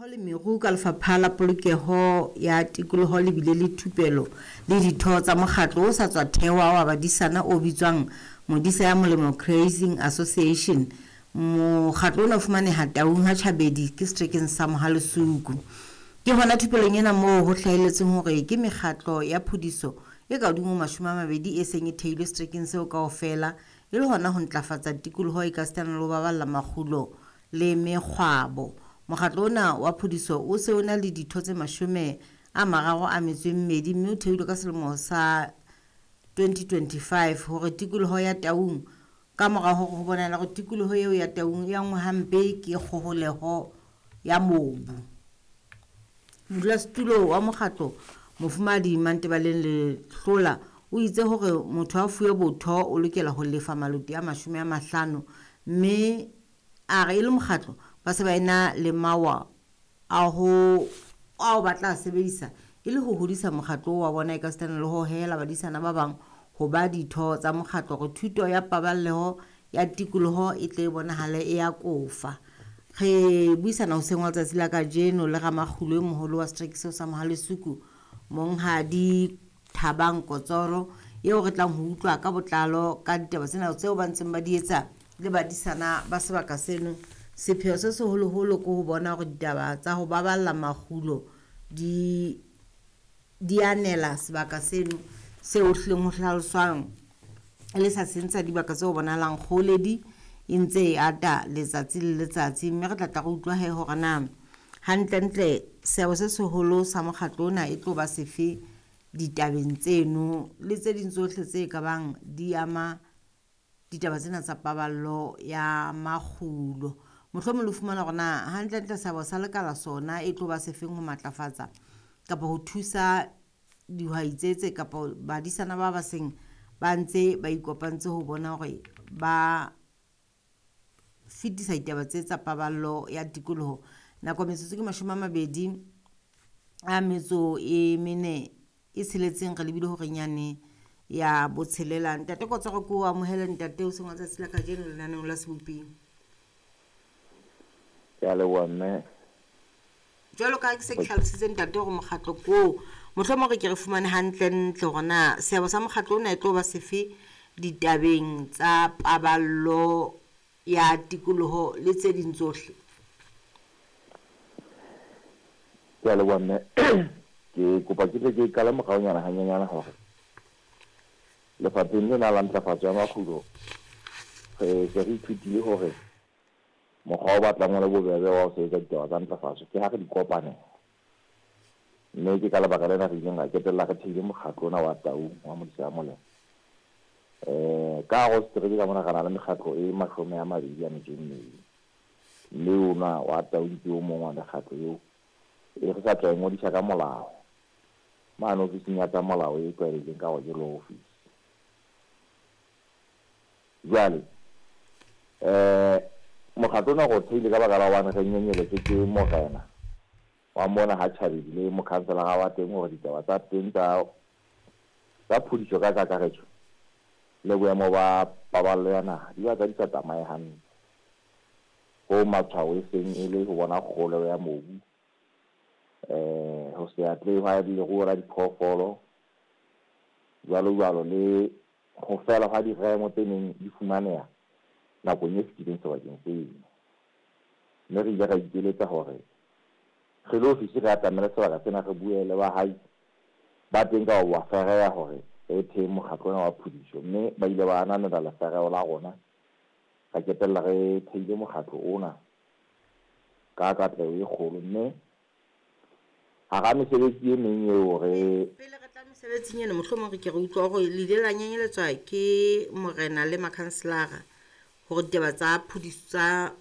Le meru ka Lefapha la Polokeho ya Tikoloho le bile le thupelo le ditho tsa mokgatlo o sa tswa thehwa wa badisana o bitswang Modisa ya Molemo Grazing Association. Mokgatlo ona o fumaneha Taung ha Tjhabedi ke seterekeng sa Mohalesuku. Ke hona thupelong ena moo ho hlahelletseng hore ke mekgatlo ya phudiso e ka hodimo ho 20 e seng e theilwe seterekeng seo kaofela e le hona ho ntlafatsa tikoloho ekasitana le ho baballa makgulo le mekgwabo. Mokgatlo ona wa phudiso o se o na le ditho tse 32 mme o theilwe ka selemo sa 2025 hore tikoloho ya Taung ka mora hore ho bonahala hore tikoloho eo ya Taung e angwa hampe ke kgoholeho ya mobu. Modulasetulo wa mokgatlo Mofumahadi Mantebaleng Lehlola o itse hore motho a fuwe botho o lokela ho lefa maloti a 50 mme a re e le mokgatlo ba se ba ena le mawa a ho ao ba tla sebedisa e le ho hodisa mokgatlo wa bona ekasitana le ho hohela badisana ba bang ho ba ditho tsa mokgatlo hore thuto ya paballeho ya tikoloho e tle e bonahale e ya kofa. Re buisana hoseng wa letsatsi la kajeno le ramakgulo e moholo wa setereke seo sa Mohalesuku, Monghadi Thabang Kotsoro, eo re tlang ho utlwa ka botlalo ka ditaba tsena tseo ba ntseng ba di etsa le badisana ba sebaka seno. Sepheo se seholoholo ke ho bona hore ditaba tsa ho baballa makgulo di di anela sebaka seno seo hlileng ho hlaloswang e le sa seng sa dibaka tseo bonahalang kgoholedi e ntse e ata letsatsi le letsatsi. Mme re tla tla re utlwa he hore na hantlentle seabo se seholo sa mokgatlo ona e tlo ba sefe ditabeng tseno le tse ding tsohle tse ka bang di ama ditaba tsena tsa paballo ya makgulo. Mohlomong le fumana hore na hantlentle seabo sa lekala sona e tlo ba sefeng ho matlafatsa kapa ho thusa dihwai tse tse kapa badisana ba ba seng ba ntse ba ikopantse ho bona hore ba fetisa ditaba tse tsa paballo ya tikoloho. Nako metsotso ke 24 e tsheletseng re lebile hore nyane ya botshelela. Ntate Kotsoro, ke o amohele ntate o seng wa tsatsi la kajeno lenaneong la Seboping. Ke a leboha mme. Jwalo ka ha ke se ke hlalositse ntate hore mokgatlo ko mohlomong re ke re fumane hantlentle hore na seabo sa mokgatlo ona e tlo ba sefe ditabeng tsa paballo ya tikoloho le tse ding tsohle. Ke a leboha mme. Ke kopa ke tle ke qale moraonyana hanyenyana hore lefapheng lena la ntlafatso ya makgulo re se re ithutile hore mokgwa o batlang o le bobebe wa ho sebetsa ditaba tsa ntlafatso ke ha re di kopanela. Mme ke ka lebaka lena re ileng ra qetella re theile mokgatlo ona wa Taung wa Modisa ya Molemo. Ka hare ho setereke ka mona re na le mekgatlo e 22, mme ona wa Taung ke o mong wa mekgatlo eo e re sa tswa e ngodisa ka molao mane ofising ya tsa molao e tlwaelehileng ka hore ke law office. Jwale mokgatlo ona re o theile ka baka la hobane re nyenyeletswe ke morena wa mona ha Tjhabedi le mokhanselara wa teng hore ditaba tsa teng tsa phodiso ka kakaretso le boemo ba paballo ya naha di batla di sa tsamaye hantle. Ho matshwao e seng e le ho bona kgolo ya mobu, ho se atlehe hwa leruo la diphoofolo, jwalo jwalo, le ho fela hwa diremo tse neng di fumaneha nakong e fetileng sebakeng seno. Mme re ile ra ikeletsa hore re le ofisi re atamele sebaka sena re bue le bahai ba teng ka ho ba fereya hore re thee mokgatlo ona wa phodiso, mme ba ile ba ananela lefereho la rona. Ra qetella re theile mokgatlo ona ka katleho e kgolo, mme hara mesebetsi e meng eo re Pele re tla mesebetsing ena, mohlomong re ke re utlwa hore le ile la nyenyeletswa ke morena le makhanselara hore ditaba tsa phodiso tsa